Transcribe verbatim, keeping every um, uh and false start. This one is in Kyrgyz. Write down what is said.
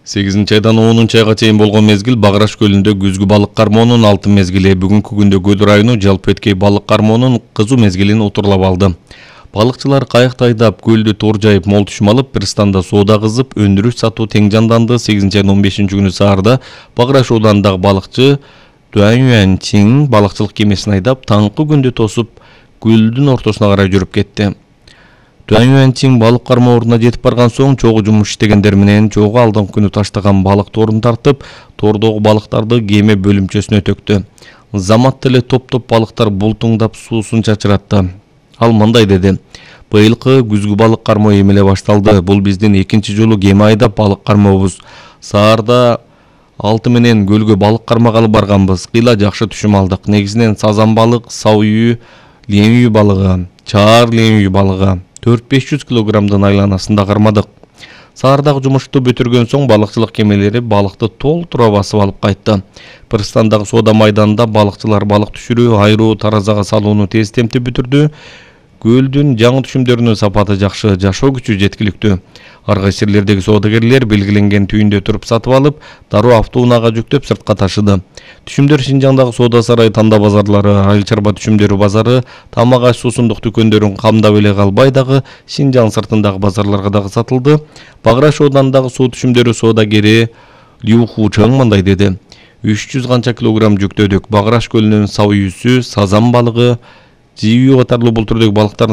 сегизинчи айдан онунчу айга чейин болгон мезгил Баграш көлүндө күзгү балык кармоонун алтын мезгили, бүгүнкү күндө Көл району жалпы эткей балык кармоонун кызуу мезгилин утурлап алды. Балыкчылар кайыкты айдап, көлдү тор жайып, мол түшүм алып, пристанда соода кызып, өндүрүш сатуу тең жанданды. сегизинчи айдын он бешинчи күнү саарда Баграш ооданындагы балыкчы Дуаньюаньчин балыкчылык кемесин айдап, таңкы күндү тосуп, көлдүн ортосуна карай жүрүп кетти. Дуаньюаньчин балык кармоо ордуна жетип барган соң, чогуу жумуш иштегендер менен чогуу алдыңкы күнү таштаган балык торун тартып, тордогу балыктарды кеме бөлүмчөсүнө төктү. Замат эле топ-топ балыктар бултуңдап суусун чачыратты. Ал мындай деди: "Быйылкы күзгү балык кармоо эмеле башталды. Бул биздин экинчи жолу кеме айдап балык кармообуз. Саарда алты менен көлгө балык кармагалы барганбыз. Кыйла жакшы түшүм алдык. Негизинен сазан балык, саүйүү, леңүү балыгы, чаар леңүү балыгы төрт беш жүз килограммдын айланасында кармадык. Саардагы жумушту бүтүргөн соң балыкчылык кемелери балыкты толтура басып алып кайтты. Пристандагы соода майданында балыкчылар балык түшүрүү, айруу, таразага салууну тез темтип бүтүрдү. Көлдүн жаңы түшүмдөрүнүн сапаты жакшы, жашоо күчү жеткиликтүү. Ар кайсы жерлердеги соодагерлер белгиленген түйүндө туруп сатып алып, дароо автоунаага жүктөп сыртка ташыды. Түшүмдөр Шинжаңдагы соода сарай, Танда базарлары, айыл чарба түшүмдөрү базары, тамак аш суусундук дүкөндөрүн камдап эле калбай дагы Шинжаң сыртындагы базарларга дагы сатылды. Баграш ооданындагы суу түшүмдөрү соодагери Лю Хучаң мындай деди: үч жүз канча килограмм жүктөдүк. Баграш көлүнүн саүйүүсү, сазан балыгы, жийүү катарлуу бул түрдөгү балыктардын